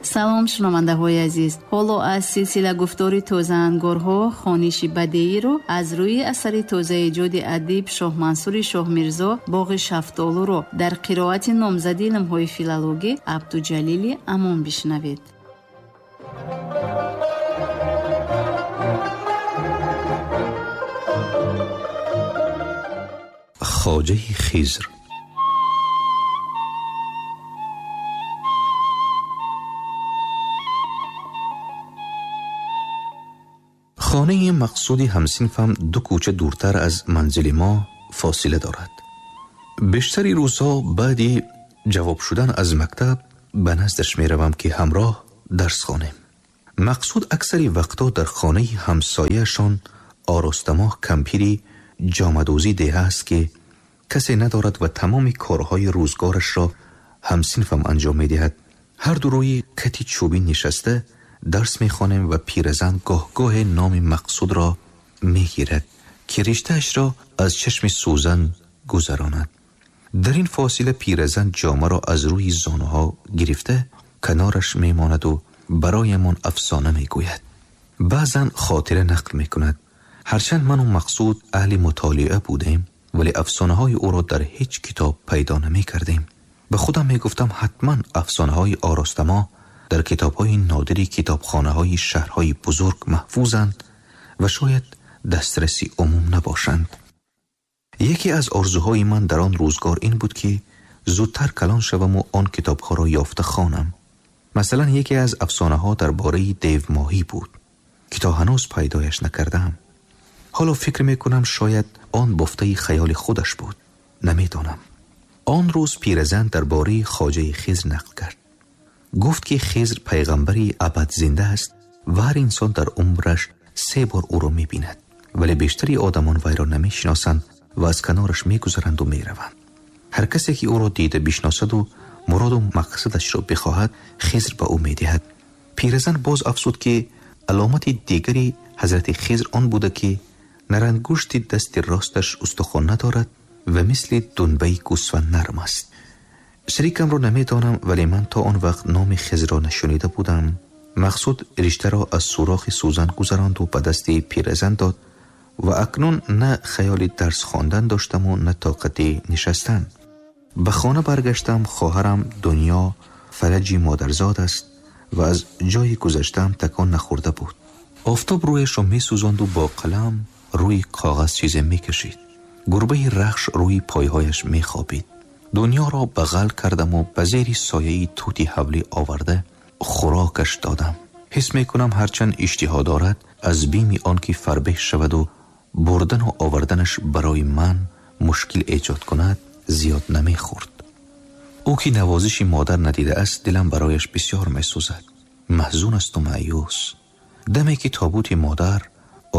Салом, шунавандаҳои азиз. Ҳоло аз силсила гуфтори тозаангорҳо хониши бадеиро аз рӯи асари тозаэҷоди адиб Шоҳмансури Шоҳмирзо «Боғи шафтолуро» дар қироати номзади илмҳои филологӣ Абдуҷалили Амон бишнавед. Хоҷаи Хизр. Хонаи Мақсуди ҳамсинфам 2 кӯча дуртар аз манзили мо фосила дорад. Бештари рӯзҳо баъди ҷавоб шудан аз мактаб ба наздаш меравам, ки ҳамроҳ дарс хонем. Мақсуд аксари вақтҳо дар хонаи ҳамсояашон Оростамоҳ кампири ҷомадӯзӣ деҳа аст, ки касе надорад ва тамоми корҳои рӯзгорашро ҳамсинфам анҷом медиҳад. Ҳар ду рӯи кати чӯбӣ нишаста дарс мехонем ва пиразан гоҳ-гоҳе номи Мақсудро мегирад, ки риштаашро аз чашми сӯзан гузаронад. Дар ин фосила пиразан ҷомаро аз рӯи зонуҳо гирифта канораш мемонаду бароямон афсона мегӯяд. Баъзан хотира нақл мекунад. Ҳарчанд ману Мақсуд аҳли мутолиа будем, вале афсонаҳои ӯро дар ҳеҷ китоб пайдо намекардем. Ба худам мегуфтам, ҳатман афсонаҳои Оростамоҳ дар китобҳои нодири китобхонаҳои шаҳрҳои бузург маҳфузанд ва шояд дастраси умум набошанд. Яке аз орзуҳои ман дар он рӯзгор ин буд, ки зудтар калон шаваму он китобҳоро ёфта хонам. Масалан, яке аз афсонаҳо дар бораи девмоҳӣ буд, ки то ҳанӯз пайдояш накардаам. Ҳоло фикр мекунам, шояд он бофтаи хаёли худаш буд, намедонам. Он рӯз пиразан дар бораи хоҷаи Хизр нақл кард. Гуфт, ки Хизр пайғамбари абадзинда аст ва ҳар инсон дар умраш 3 бор ӯро мебинад, вале бештари одамон вайро намешиносанд ва аз канораш мегузаранду мераванд. Ҳар касе ки ӯро дида бишносаду муроду мақсадашро бихоҳад, Хизр ба ӯ медиҳад. Пиразан боз афзуд, ки аломати дигари ҳазрати Хизр он буда, ки нарангушти дасти росташ устухон надорад ва мисли дунбаи гӯсфанд нарм аст. Шарикамро намедонам, вале ман то он вақт номи Хизрро нашунида будам. Мақсуд риштаро аз сӯрохи сӯзан гузаронду ба дасти пиразан дод ва акнун на хаёли дарс хондан доштаму на тоқати нишастан. Ба хона баргаштам. Хоҳарам Дунё фалаҷи модарзод аст ва аз ҷойи гузаштаам такон нахӯрда буд. Офтоб рӯяшро месӯзонду бо қалам рӯи коғаз чизе мекашид. Гурбаи рахш рӯи пойҳояш мехобид. Дунёро бағал кардаму ба зери сояи тути ҳавлӣ оварда хӯрокаш додам. Ҳис мекунам, ҳарчанд иштиҳо дорад, аз бими он ки фарбеҳ шаваду бурдану оварданаш барои ман мушкил эҷод кунад, зиёд намехӯрд. Ӯ ки навозиши модар надидааст, дилам барояш бисёр месӯзад. Маҳзун асту маъюс. Даме ки тобути модар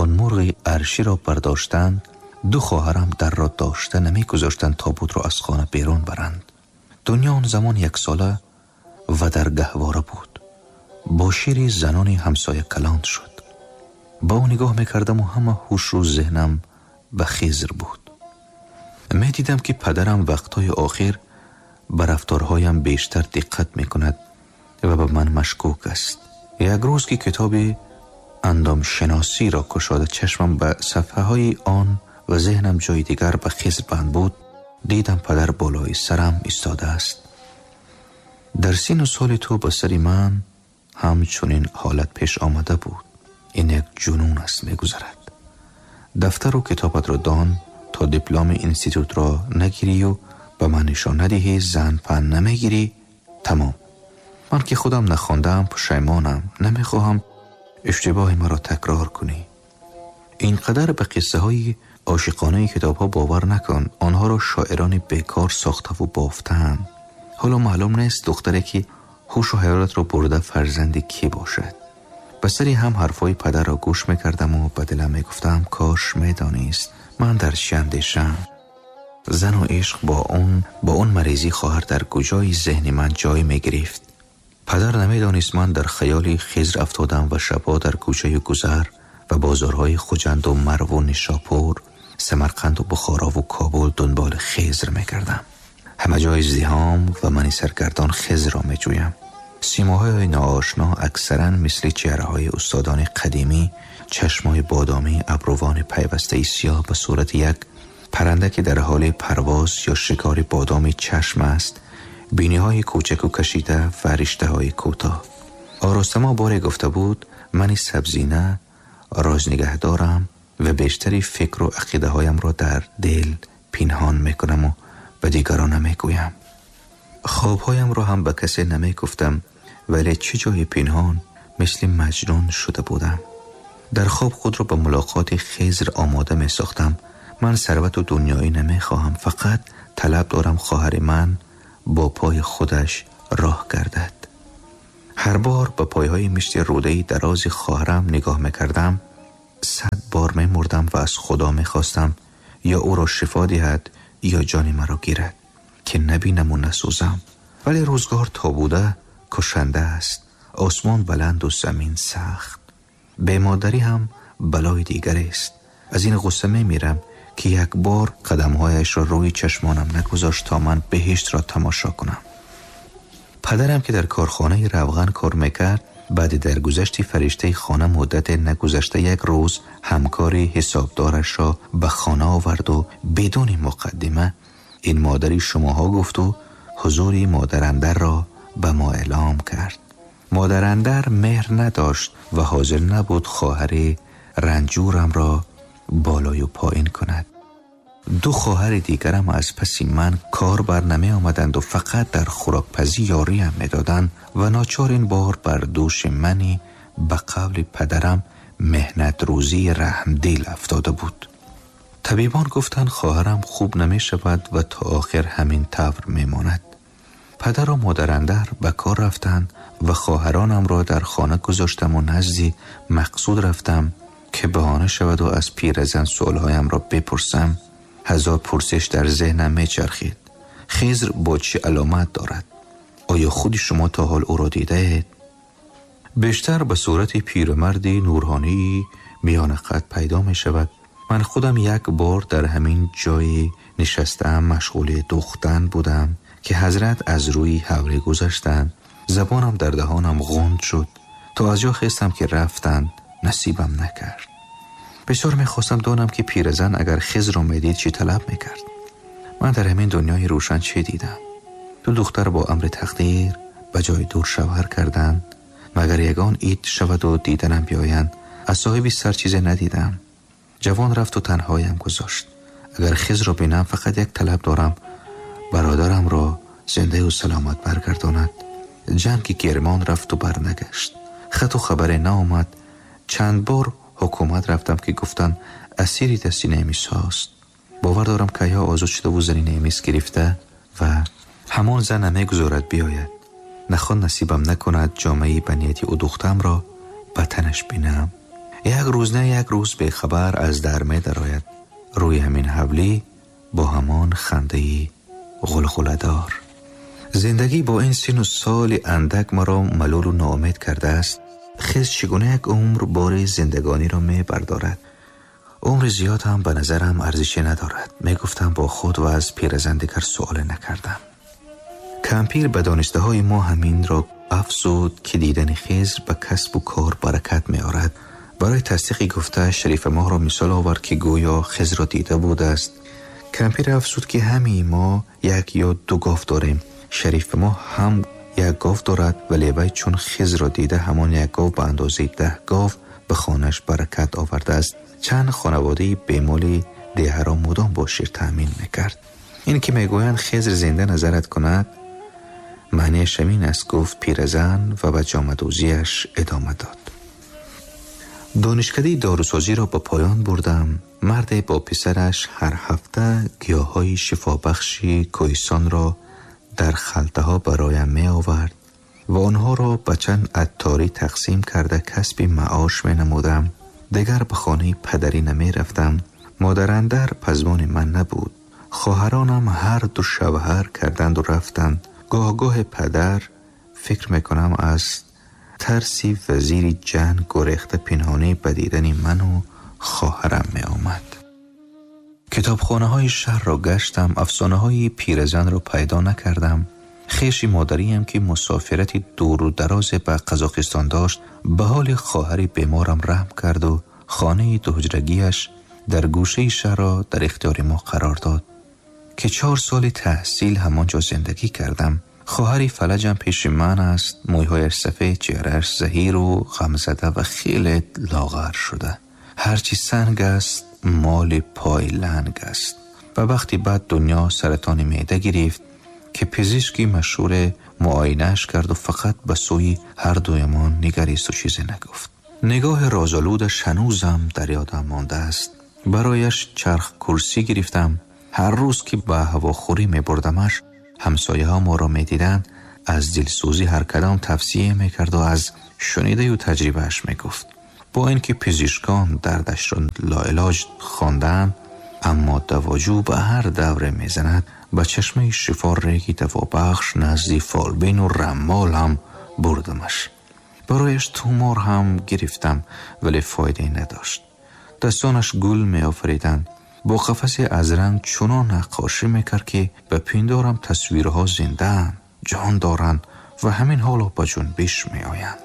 он мурғи арширо бардоштанд, 2 хоҳарам дарро дошта намегузоштанд тобутро аз хона берун баранд. Дунё он замон 1 сола ва дар гаҳвора буд. Бо шири занони ҳамсоя калон шуд. Ба ӯ нигоҳ мекардаму ҳама ҳушу зеҳнам ба Хизр буд. Медидам, ки падарам вақтҳои охир ба рафторҳоям бештар диққат мекунад ва ба ман машкук аст. Як рӯз ки китоби андомшиносиро кушода чашмам ба сафҳаҳои он ва зеҳнам ҷои дигар ба Хизр банд буд, дидам падар болои сарам истодааст. Дар сину соли ту ба сари ман ҳамчунин ҳолат пеш омада буд. Ин як ҷунун аст, мегузарад. Дафтару китобатро дон, то дипломи институтро нагирию ба ман нишон надиҳӣ, зан пан намегирӣ, тамом. Ман ки худам нахондаам, пушаймонам, намехоҳам иштибоҳи маро такрор кунӣ. Ин қадар ба қиссаҳои ошиқонаи китобҳо бовар накун. Онҳоро шоирони бекор сохтаву бофтаанд. Ҳоло маълум нест духтаре ки ҳушу ҳаёлатро бурда фарзанди кӣ бошад. Ба сари ҳам ҳарфҳои падарро гӯш мекардаму ба дилам мегуфтам, кош медонист ман дар чӣ андешам. Зану ишқ бо он маризӣ хоҳар дар куҷои зеҳни ман ҷой мегирифт. Падар намедонист ман дар хаёли Хизр афтодам ва шабҳо дар кӯчаи гузар ва бозорҳои Хуҷанду Марву Нишопур, Самарқанду Бухорову Кобул дунболи Хизр мекардам. Ҳама ҷои издиҳом ва мани саргардон Хизрро меҷӯям. سیماهای ناآشنا اکثرا مثل چهره‌های استادان قدیمی، چشمای بادامی، ابروان پیوسته سیاه به صورت یک پرنده که در حال پرواز یا شکار بادام چشم است، بینی‌های کوچک و کشیده و رشته‌های کوتاه. آراستما باری گفته بود من سبزینه راز نگه دارم و بیشتری فکر و عقیده هایم را در دل پنهان میکنم و به دیگران نمیگویم. خوابهایم را هم به کسی نمیگفتم، ولی چه جای پنهان، مثل مجنون شده بودم. در خواب خود را به ملاقات خضر آماده می ساختم. من ثروت و دنیایی نمی خواهم، فقط طلب دارم خواهر من با پای خودش راه گردد. هر بار به پایهای مشت روده‌ای دراز خواهرم نگاه میکردم، 100 بار می مردم و از خدا می خواستم یا او را شفا دهد یا جان مرا گیرد که نبینم و نسوزم. ولی روزگار تا بوده کشنده است، آسمان بلند و زمین سخت. به مادری هم بلای دیگر است. از این غصه می میرم که یک بار قدمهایش را روی چشمانم نگذاشت تا من بهشت را تماشا کنم. پدرم که در کارخانه روغن کار میکرد، بعد درگذشت فرشته خانه مدت نگذشته یک روز همکار حسابدارش را به خانه آورد و بدون مقدمه این مادری شماها گفت و حضور مادراندر را به ما اعلام کرد. مادراندر مهر نداشت و حاضر نبود خواهر رنجورم را بالای و پایین کند. 2 خواهر دیگرم از پس من کار بر نمی آمدند و فقط در خوراکپزی یاری هم می دادند و ناچار این بار بر دوش منی به قول پدرم مهنت روزی رحم دل افتاده بود. طبیبان گفتند خواهرم خوب نمی شود و تا آخر همین طور می ماند. پدر و مادراندر به کار رفتند و خواهرانم را در خانه گذاشتم و نزدی مقصود رفتم که بهانه شود و از پیرزن سؤالهایم را بپرسم. 1000 پرسش در ذهنم میچرخید. خضر با چه علامت دارد؟ آیا خود شما تا حال او را دیده اید؟ بیشتر به صورت پیرمردی نورانی میان قد پیدا می شود. من خودم یک بار در همین جای نشستم مشغول دوختن بودم که حضرت از روی حوله گذشتند. زبانم در دهانم غند شد. تا از جا خستم که رفتند نصیبم نکرد. بسیار میخواستم دانم که پیرزن اگر خضر را میدید چی طلب میکرد. من در همین دنیای روشن چه دیدم؟ 2 دختر با امر تقدیر به جای دور شوهر کردند، مگر یگان عید شود و دیدنم بیایند. از صاحبی سر چیز ندیدم. جوان رفت و تنهایم گذاشت. اگر خضر را بینم فقط یک طلب دارم، برادرم را زنده و سلامت برگرداند. جنگ کرمان رفت و برنگشت. خط و خبر نآمد. چند بار حکومت رفتم که گفتن اسیری دستی نمیس هاست. باور دارم که یا آزاد شده و زنی نمیس گرفته و همان زن نمیگذارد بیاید. نخوان نصیبم نکند جامعه بنیتی او دختم را به تنش بینم. یک روز نه یک روز به خبر از در می درآید. روی همین حولی با همان خنده‌ای غلغله دار. زندگی با این سن و سال اندک مرا ملول و ناامید کرده است. خضر چگونه یک عمر بار زندگانی را می بردارد؟ عمر زیاد هم به نظرم ارزش ندارد. می گفتم با خود و از پیرزن دیگر سوال نکردم. کمپیر به دانسته های ما همین را افزود که دیدن خضر به کسب و کار برکت می آورد. برای تصدیق گفته شریف ماه را مثال آورد که گویا خضر را دیده بوده است. کمپیر افزود که همین ما 1 یا 2 گاو داریم. شریف ما هم 1 گاو دارد، ولی وی چون خضر را دیده همان 1 گاو به اندازه 10 گاو به خانه‌اش برکت آورده است. چند خانواده بیمال ده را مدام با شیر تأمین میکرد. این که میگویند خضر زنده نظرت کند معنیش همین است، گفت پیرزن و به جامه‌دوزیش ادامه داد. دانشکده داروسازی را به پایان بردم. مرد با پسرش هر هفته گیاهای شفابخشی کوهستان را در خلطه ها برایم می آورد و آنها را به چند عطاری تقسیم کرده کسب معاش می نمودم. دیگر به خانه پدری نمی رفتم. مادراندر پزمان من نبود. خواهرانم هر دو شوهر کردند و رفتند. گاه گاه پدر فکر می کنم از ترسی وزیر جنگ گریخته پنهانی به دیدن من و خواهرم می آمد. کتابخانه های شهر را گشتم، افسانه های پیرزن را پیدا نکردم. Хеши модариям ки мусофирати дуру дарозе ба Қазоқистон дошт, ба ҳоли хоҳари беморам раҳм кард ва хонаи дуҳуҷрагиаш дар гӯшаи шаҳрро дар ихтиёри мо қарор дод, ки 4 соли таҳсил ҳамонҷо зиндагӣ кардам. Хоҳари фалаҷам пеши ман аст, мӯйҳояш сафед, чеҳрааш заҳиру ғамзада ва хеле лоғар шуда. Ҳарчи санг аст, моли пой ланг аст. Ба вақти баъд дунё саратони меъда гирифт, ки пизишки машҳур муоинааш кард ва фақат ба сӯи ҳар дуямон нигарист ва чизе нагуфт. Нигоҳи розолудаш ҳанӯзам дар ёдам мондааст. Барояш чарх курсӣ гирифтам. Ҳар рӯз ки ба ҳавохӯрӣ мебурдамаш, ҳамсояҳо моро медиданд, аз дилсӯзӣ ҳар кадом тавсия мекард ва аз шунидаю таҷрибааш мегуфт. Бо ин ки пизишкон дардашро лоилоҷ хонданд, аммо давоҷӯ ба ҳар давре мезанад, ба чашмаи шифо реги давобахш назди фолбину раммол ҳам бурдамаш. Барояш тумор ҳам гирифтам, вале фоидае надошт. Дастонаш гул меофариданд. Бо қафасе аз ранг чунон наққошӣ мекард, ки ба пиндорам тасвирҳо зиндаанд, ҷон доранд ва ҳамин ҳоло ба ҷунбиш меоянд.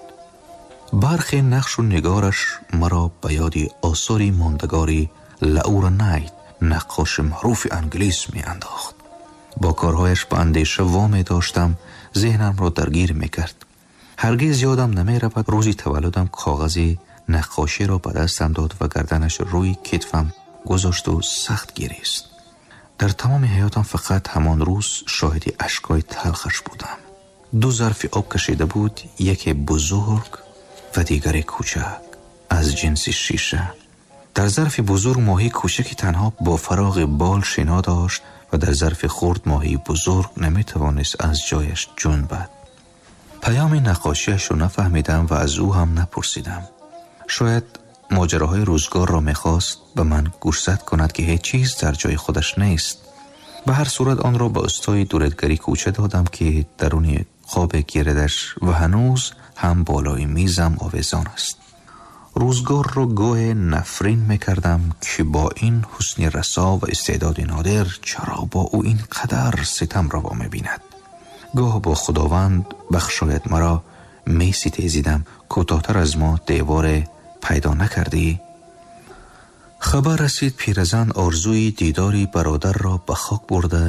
Бархе нақшу нигораш маро ба ёди осори мондагори Лаура Найт, наққоши маъруфи англис, меандохт. Бо корҳояш ба андеша во медоштам, зеҳнамро даргир мекард. Ҳаргиз ёдам намеравад, рӯзи таваллудам коғази наққоширо ба дастам дод ва гарданаш рӯи китфам гузошт ва сахт гирист. Дар тамоми ҳаётам фақат ҳамон рӯз шоҳиди ашкҳои талхаш будам. 2 зарфи об кашида буд, яке бузург ва дигаре кӯчак, аз ҷинси шиша. Дар зарфи бузург моҳии кӯчаки танҳо бо фароғи бол шино дошт ва дар зарфи хурд моҳии бузург наметавонист аз ҷояш ҷунбад. Паёми наққошиашро нафаҳмидам ва аз ӯ ҳам напурсидам. Шояд моҷароҳои рӯзгорро мехост ба ман гӯшзад кунад, ки ҳеҷ чиз дар ҷои худаш нест. Ба ҳар сурат онро ба устои дуредгари кӯча додам, ки даруни қобе гиредаш ва ҳанӯз ҳам болои мизам овезон аст. Рӯзгорро гоҳе нафрин мекардам, ки бо ин ҳусни расо ва истеъдоди нодир чаро бо ӯ ин қадар ситам раво мебинад. Гоҳ бо худованд бахшояд маро меситезидам, кӯтоҳтар аз мо деворе пайдо накардӣ. Хабар расид пиразан орзуи дидори бародарро ба хок бурда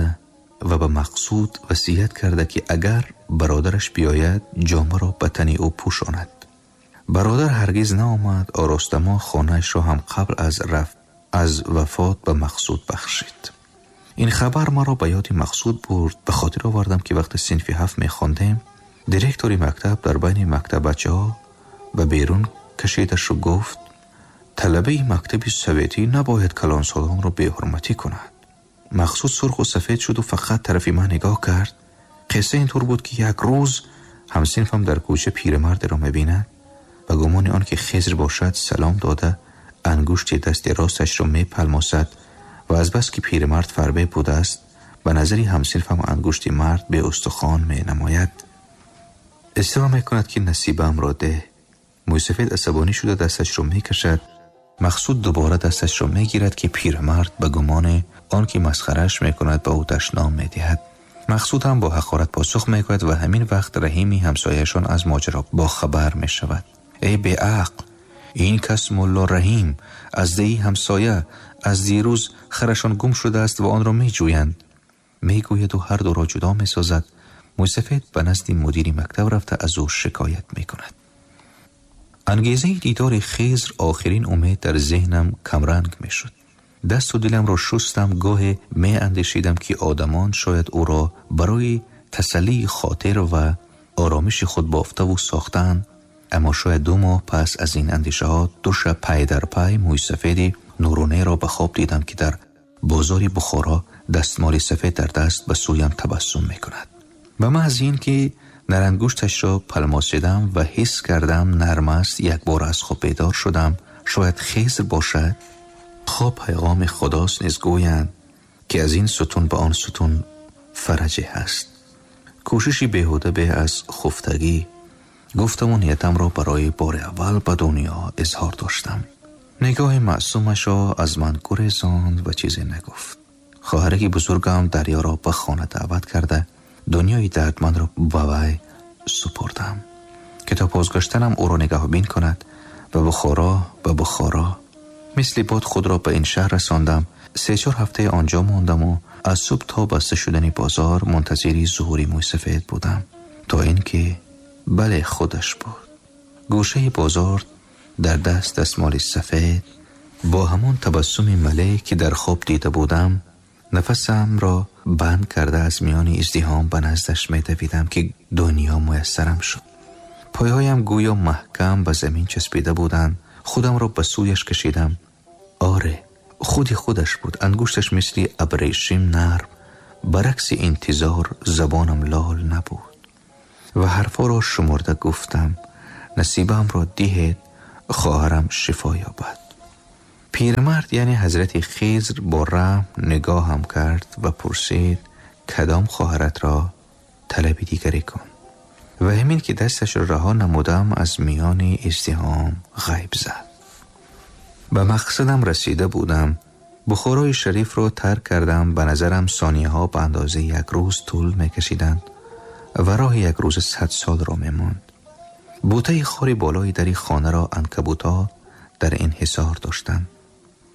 ва ба Мақсуд васият карда, ки агар бародараш биёяд, ҷомаро ба тани ӯ пӯшонад. Бародар ҳаргиз наомад. Оростамо хонаашро ҳам қабл аз вафот ба Мақсуд бахшид. Ин хабар маро ба ёди Мақсуд бурд. Ба хотир овардам, ки вақти синфи 7 мехондем, директори мактаб дар байни мактаббачаҳо ба берун кашидашу гуфт: талабаи мактаби советӣ набояд калонсолонро беҳурматӣ кунад. Мақсуд сурху сафед шуду фақат тарафи ман нигоҳ кард. Қисса интур буд, ки як рӯз ҳамсинфам дар кӯча пирамардеро мебинад. Ба гумони он ки Хизр бошад, салом дода, ангушти дасти росташро мепалмосад ва азбас ки пирамард фарбе будааст, ба назари ҳамсинфам ангушти мард беустухон менамояд. Исрор мекунад, ки насибамро деҳ. Мӯйсафед асабонӣ шуда дасташро мекашад. Мақсуд дубора дасташро мегирад, ки пирамард ба гумони он ки масхараш мекунад, ба ӯ дашном медиҳад. Мақсуд ҳам бо ҳақорат посух мегӯяд ва ҳамин вақт Раҳими ҳамсояшон аз моҷаро бохабар мешавад. Эй беақл, ин кас мулло Раҳим аз деҳи ҳамсоя, аз дирӯз харашон гум шудааст ва онро меҷӯянд, мегӯяду ҳар дуро ҷудо месозад. Мӯйсафед ба назди мудири мактаб рафта аз ӯ шикоят мекунад. Ангезаи дидори Хизр охирин умед дар зеҳнам камранг мешуд. Дасту диламро шустам, гоҳе меандешидам, ки одамон шояд ӯро барои тасаллии хотир ва оромиши худ бофтаву сохтаанд. Аммо шояд 2 моҳ пас аз ин андешаҳо 2 шаб пай дар пай мӯйсафеди нуронеро ба хоб дидам, ки дар бозори Бухоро дастмоли сафед дар даст ба сӯям табассум мекунад. Ба маҳзи ин ки нарангушташро палмосидам ва ҳис кардам нарм аст, якбор аз хоб бедор шудам. Шояд Хизр бошад. Хоб пайғоми худост низ гӯянд, ки аз ин сутун ба он сутун фараҷе ҳаст. Кӯшиши беҳуда беҳ аз хуфтагӣ. Гуфтаму ниятамро барои бори аввал ба дунё изҳор доштам. Нигоҳи маъсумашро аз ман гурезонд ва чизе нагуфт. Хоҳараки бузургам Дарёро ба хона даъват карда, дунёи дардмандро ба вай супурдам, ки то бозгаштанам ӯро нигаҳбин кунад. Ба Бухоро, ба Бухоро. Мисли бод худро ба ин шаҳр расондам. 3-4 ҳафта онҷо мондам ва аз субҳ то баста шудани бозор мунтазири зуҳури мӯйсафед будам, то инки бале, худаш буд. Гӯшаи бозор дар даст дастмоли сафед, бо ҳамон табассуми мале ки дар хоб дида будам, нафасамро банд карда аз миёни издиҳом ба наздаш медавидам, ки дунё муяссарам шуд. Пойҳоям гӯё маҳкам ба замин часпида буданд. Худамро ба сӯяш кашидам. Оре, худи худаш буд. Ангушташ мисли абрешим нарм. Баракси интизор забонам лол набуд ва ҳарфҳоро шумурда гуфтам: насибамро диҳед, хоҳарам шифо ёбад. Пирмард, яъне ҳазрати Хизр, бо раҳм нигоҳам кард ва пурсид: кадом хоҳаратро? Талаби дигаре кун. Ва ҳамин ки дасташро раҳо намудам, аз миёни издиҳом ғайб зад. Ба мақсадам расида будам. Бухорои шарифро тарк кардам. Ба назарам сонияҳо ба андозаи як рӯз тӯл мекашиданд ва роҳи як рӯза 100 солро мемонд. Бутаи хори болои дари хонаро анкабутҳо дар инҳисор доштанд.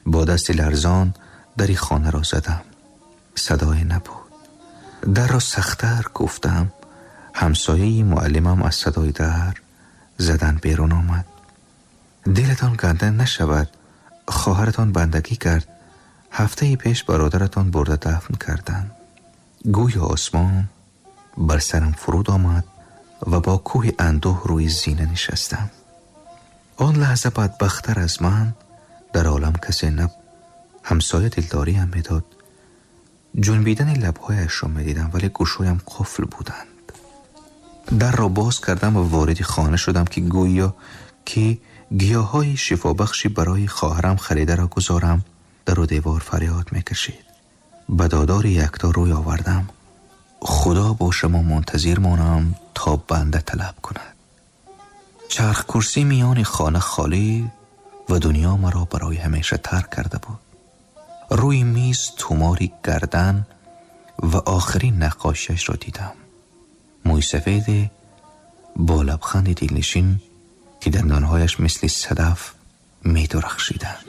Бо дасти ларзон дари хонаро задам. Садое набуд. Дарро сахттар кӯфтам. Ҳамсояи муаллимам аз садои дар задан берун омад. Дилатон ганда нашавад, хоҳаратон бандагӣ кард. Ҳафтаи пеш бародаратон бурда дафн карданд. Гӯё осмон бар сарам фуруд омад ва бо кӯҳи андӯҳ рӯи зина нишастам. Он лаҳза бадбахттар аз ман дар олам касе набуд. Ҳамсоя дилдориам медод. Ҷунбидани лабҳояшро медидам, вале гӯшҳоям қуфл буданд. Дарро боз кардам ва вориди хона шудам, ки гӯё ки гиёҳҳои шифобахши барои хоҳарам харидаро гузорам. Дару девор фарёд мекашид. Ба додори якто рӯй овардам. Худо бо шумо мунтазир монам то банда талаб кунад. Чарх курсӣ миёни хона холӣ ва дунё маро барои ҳамеша тарк карда буд. Рӯи миз тумори гардан ва охирин наққошиашро дидам. Мӯйсафеде бо лабханди дилнишин, ки дандонҳояш мисли садаф медурахшиданд.